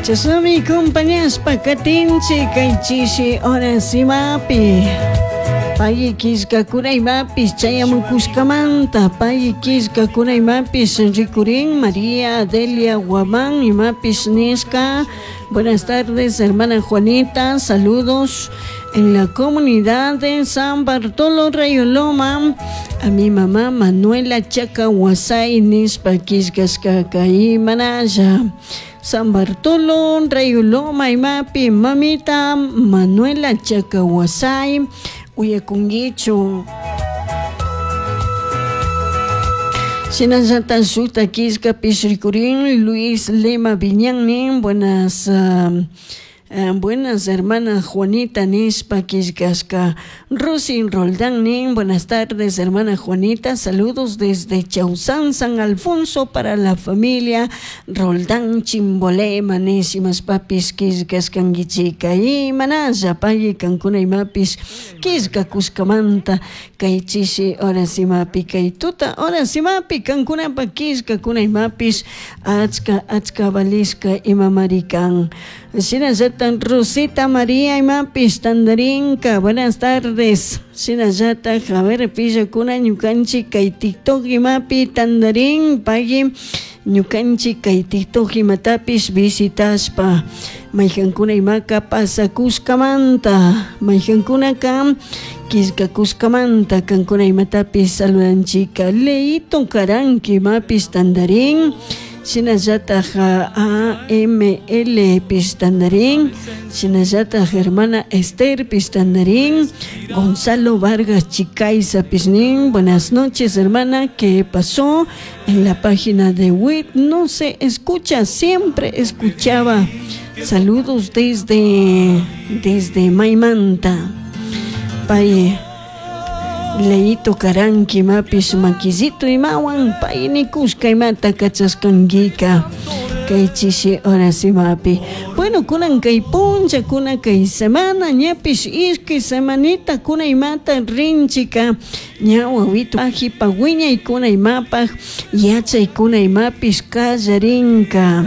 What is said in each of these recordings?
Chashnami compañashpa katinchik kay chishi horas imapi. Pay killkakuna imapish chayamukushkamanta pay killkakuna imapish rikurin María Adelia Guamán imapish nishka. Buenas tardes, hermana Juanita, saludos en la comunidad de San Bartolo Rayoloma. A mi mamá Manuela Chacahuasay nishpa killkashkaka imanalla. San Bartolo Rayoloma imapi mamita Manuela Chacahuasay uyakunkichu. Shinallata shukta killkapish rikurin Luis Lema Viñan nin buenas buenas hermana Juanita nishpa killkashka. Rosin Roldán nin buenas tardes hermana Juanita, saludos desde Chausán, San Alfonso para la familia Roldán Chimbolema nishimashpapish killkashkankichika. Imanalla pay kankuna imapish killkakushkamanta kay chishi horas imapi kay tuta horas imapi kankunapa killkakuna imapish achka achka valishka imamari kan. Shinallata Rosita María imapish tandarinka, buenas tardes. Shinallata a ver pillakuna ñukanchik kay TikTok imapi tandarin pagui ñukanchik kay TikTok imatapish visitashpa maykankuna imaka pasakushkamanta maykankunaka killkakushkamanta kankuna imatapish saludanchika. Leito Karanki imapish tandarin. Shinallataj AML pish tandarin. Shinallataj hermana Esther pish tandarin. Gonzalo Vargas Chicaiza pish nin. Buenas noches, hermana. ¿Qué pasó? En la página de WIT no se escucha, siempre escuchaba. Saludos desde Maimanta. Pay Leito Karanki imapish makillito imawan pay nikushka imata kachashkankika kay chishi horas imapi. Bueno, kunan kay puncha, kunan kay semana, ñapish ishkay semanita kuna imata rinchika ña wawito ajipa wiñaykuna imapaj yachaykuna imapish kallarinka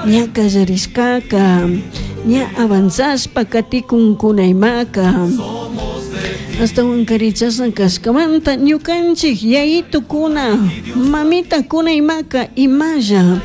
ña kallarishkaka ña avanzashpa katikunkuna imaka. Astawan karichasna kashkamanta ñukanchik yayitukuna mamitakuna imaka imalla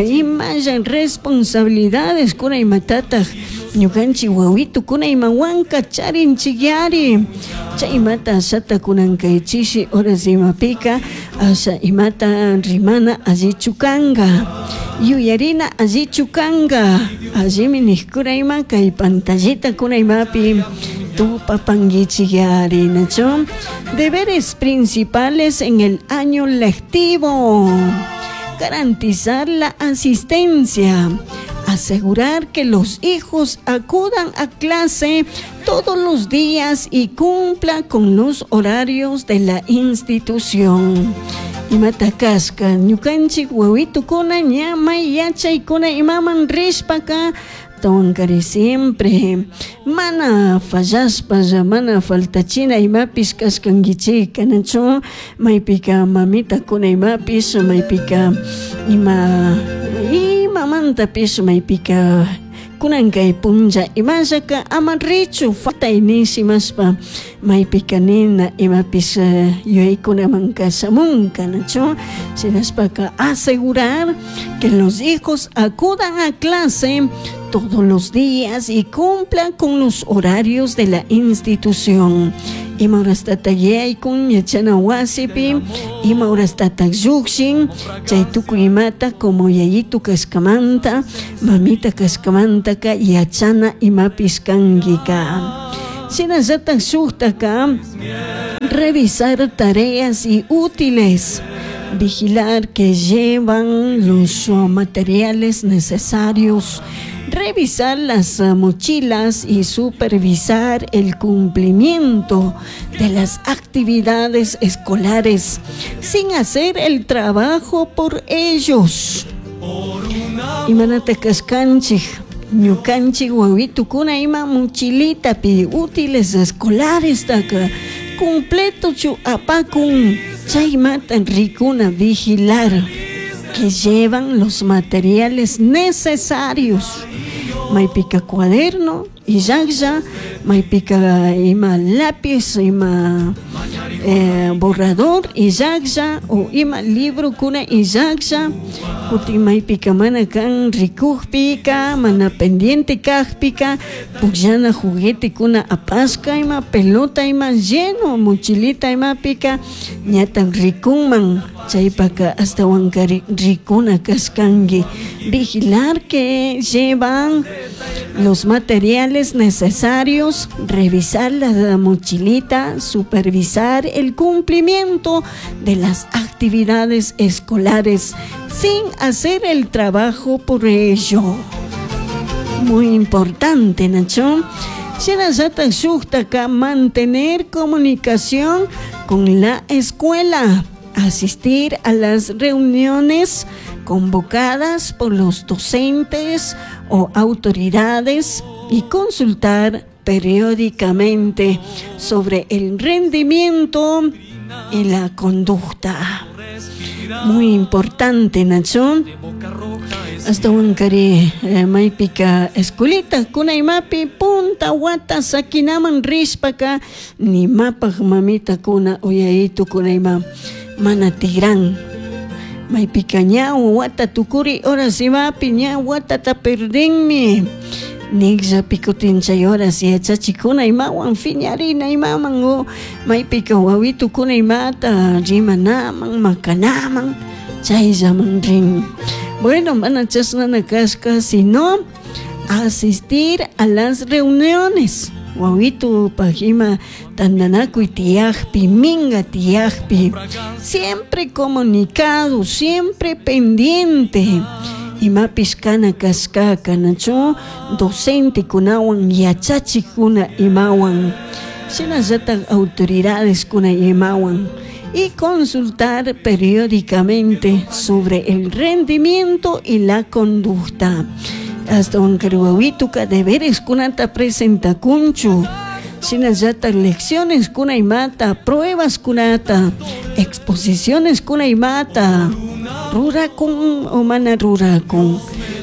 imalla responsabilidades kuna imatataq ñukanchik wawitukuna imawanka charinchikyari chay imata ashata kunan kay chishi horas imapika asha imata rimana allichu kanka yuyarina allichu kanka allimi nikkuna ima kay pantallita kuna imapi tupapankichikyari nachu. Deberes principales en el año lectivo: garantizar la asistencia, asegurar que los hijos acudan a clase todos los días y cumplan con los horarios de la institución. Imata kashka ñukanchik wawitukuna ña may yachaykuna imaman rishpaka tawankari siempre mana fallashpalla mana faltachina imapish kashkankichik nachu maypika mamitakuna imapish maypika ima imamantapish maypika kunan kay punlla imallaka ama richu faltay nishimashpa maypika nina imapish yuyaykunamanka shamunka nachu. Shinashpaka asegurar que los hijos acudan a clase todos los días y cumplan con los horarios de la institución. Ima horastata yaykun yachana wasipi, ima horastata llukshin, chay tukuy imata como yayitu kashkamanta, mamita kashkamantaka yachana imapish kankika. Shinallatak shuktaka revisar tareas y útiles, vigilar que llevan los materiales necesarios, revisar las mochilas y supervisar el cumplimiento de las actividades escolares sin hacer el trabajo por ellos. Imanata kashkanchik ñukanchik wawitukuna ima mochilitapi útiles escolares taka completochu apakun chaymata rikuna vigilar. que llevan los materiales necesarios. Maypika cuaderno illajlla, maypika ima lápiz, ima borrador illajlla o ima librokuna illajlla, kutin maypika mana kan rikukpika, mana pendiente kajpika, pukllana juguetekuna apashka ima pelota ima lleno mochilita imapika ñatak rikunman, chaypaka ashtawankari rikuna kashkanki. Vigilar que llevan los materiales necesarios, revisar la mochilita, supervisar el cumplimiento de las actividades escolares sin hacer el trabajo por ello. Muy importante, Nacho. Shinallatak shuktaka mantener comunicación con la escuela, asistir a las reuniones convocadas por los docentes o autoridades y consultar periódicamente sobre el rendimiento y la conducta. Muy importante, Nacho. Ashtawankari maypika escuelita kunaymapi punta wata sakinaman rishpaka nimapaj mamitakuna o yayitukuna mana tigran. Maypika ña wata tukuri horas imapi ña watata perdinmi. Nijllapi kutin chay horas yachachikuna imawan fiñarina imaman o maypika wawitukuna imata rimanaman makanaman chayllaman rin. Bueno, mana chashnana kashka, sino asistir a las reuniones. Wawitupaj ima tandanakuy tiyajpi, minga tiyajpi, siempre comunicado, siempre pendiente. Imapish kana kashkaka, nachu docentekunawan, yachachikuna imawan, shinallatak autoridadeskuna imawan, y consultar periódicamente sobre el rendimiento y la conducta. Ashtawankari wawituka deberes kunata presentakunchu, shinallatak lecciones kuna imata, pruebas kunata, exposiciones kuna imata, rurakun o mana rurakun.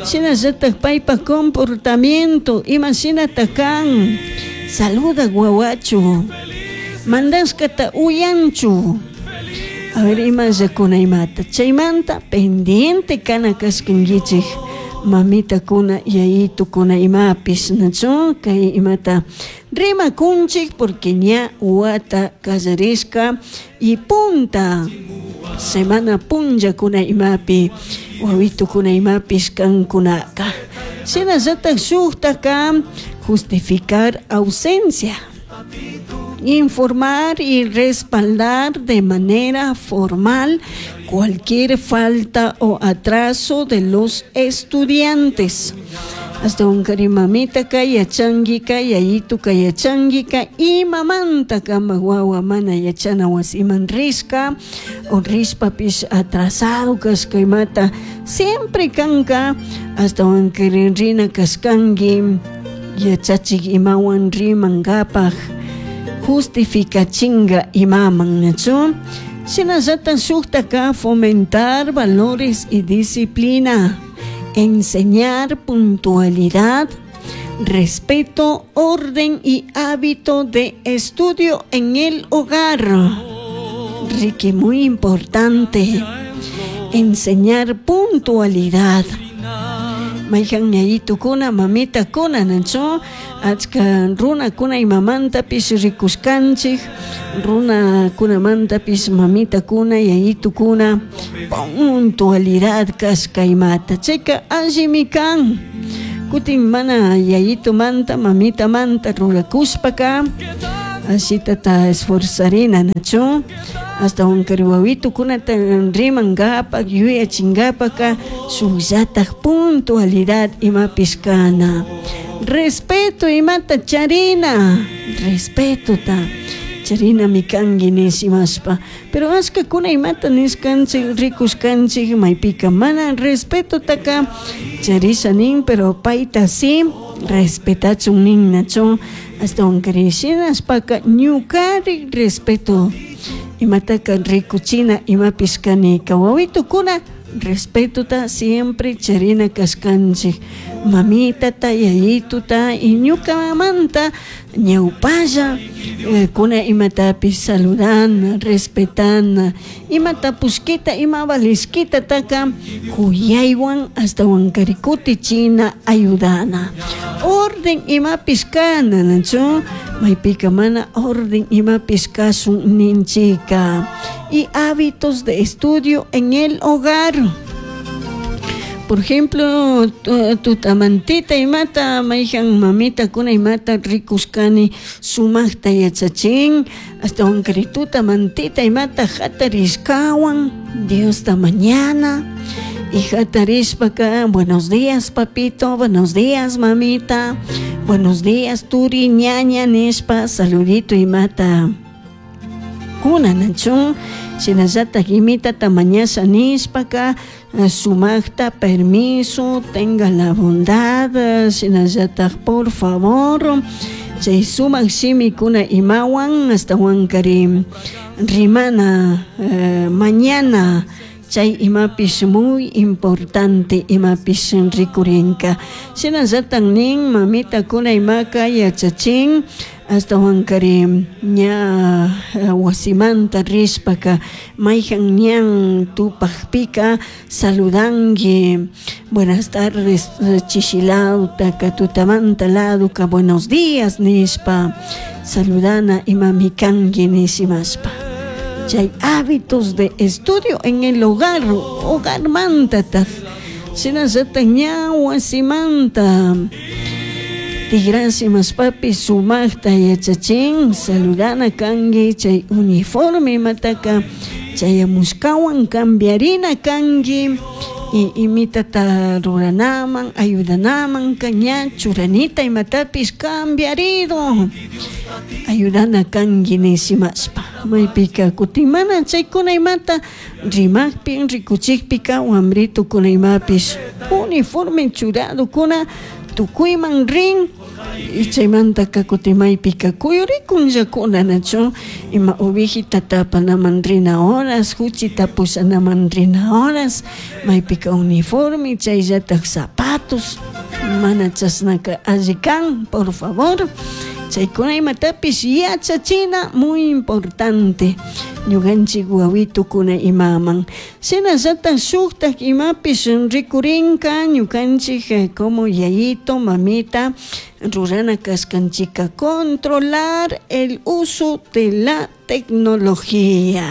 Shinallatak paypa comportamiento, ima shinata kan, saluda wawachu, mandashkata uyanchu. A ver, ima llakuna imata. Chaymanta pendiente kana kashkankichik mamitakuna, yayitukuna imapish, nachu kay imata rimakunchik porque ña wata kallarishka y punta semana punllakuna imapi wawitukuna imapish kankunaka. Shinallatak shuktaka justificar ausencia, informar y respaldar de manera formal cualquier falta o atraso de los estudiantes. Ashtawankari mamitaka yachanguika, yayituka yachanguika, imamanta kama wawa mana yachana wasiman rishka o rishpapish atrasado kashka imata siempre kanka. Ashtawankari rina kashkanki yachachik imawan rimankapaj justificachinga imaman, nachu. Shinallatak shuktaka fomentar valores y disciplina, enseñar puntualidad, respeto, orden y hábito de estudio en el hogar. Ricky, muy importante, enseñar puntualidad. Mayhan yayitukuna, mamitakuna, nachu, achka runakuna imamantapish rikushkanchik, runakunamantapish mamitakuna, yayitukuna, puntualidad kashka imata. Chayka allimi kan. Kutin mana yayitumanta, mamitamanta rurakushpaka, ashitata esforzarina, nachu. Ashtawankari wawitukunata rimankapak, yuyachinkapaka, shukllatak puntualidad imapish kana. Respeto imata charina, respetota charinami kanki nishimashpa. Pero ashkakuna imata nishkanchik, rikushkanchik, maypika mana respetotaka charisha nin, pero payta si respetachun nin, nachu. Ashtawankari shinashpaka ñukari respeto imataka rikuchina imapish kanika. Wawitukuna Respetota siempre charina kashkanchik mamitata yayituta y ñukamanta ñawpalla kuna imatapish saludana, respetana, ima tapushkita ima valishkitataka kuyaywan ashtawankari kutichina ayudana. Orden imapish kana nachu maypika mana orden imapish kashun ninchika. Y hábitos de estudio en el hogar. Por ejemplo, tutamantita imata mayjan mamitakuna imata rikushkani sumakta yachachin ashtawankari tutamantita imata jatarishkawan Diosta mañana y jatarishpaka buenos días papito, buenos días mamita, buenos días turi ñaña nishpa saludito imata kuna nachu shinallatak imitata mañasha nishpaka sumakta permiso, tenga la bondad, shinallatak por favor, chay sumak shimikuna imawan ashtawankari rimana mañana chay imapish muy importante imapish rikurinka. Shinallatak nin mamitakuna imaka yachachin ashtawankari ña wasimanta rishpaka mayjan ñan tupakpika saludanki buenas tardes chishilawtaka tutamanta ladoka buenos días nishpa saludana imami kanki nishimashpa. Chay hábitos de estudio en el hogar, hogarmantataj shinallatak ña wasimanta tigrashimashpapish sumakta yachachin saludana kanki chay uniforme imataka chayamushkawan cambiarina kanki y imitata ruranaman ayudanaman ña churanita imatapish cambiarido ayudana kanki nishimashpa maypika kutin mana chaykuna imata rimakpi rikuchikpika wambritukuna imapish uniforme churadokuna tukuyman rin y chaymantaka kutin maypika kuyurikunllakuna nachu ima ovejitata apanaman rina horas huchita pushanaman rina horas maypika uniforme chayllatak zapatos mana chashnaka alli kan por favor. Chaykuna imatapish yachachina muy importante ñukanchik wawitukuna imaman. Shinallatak shuktak imapish rikurinka ñukanchik como yayito mamita rurana kashkanchika controlar el uso de la tecnología.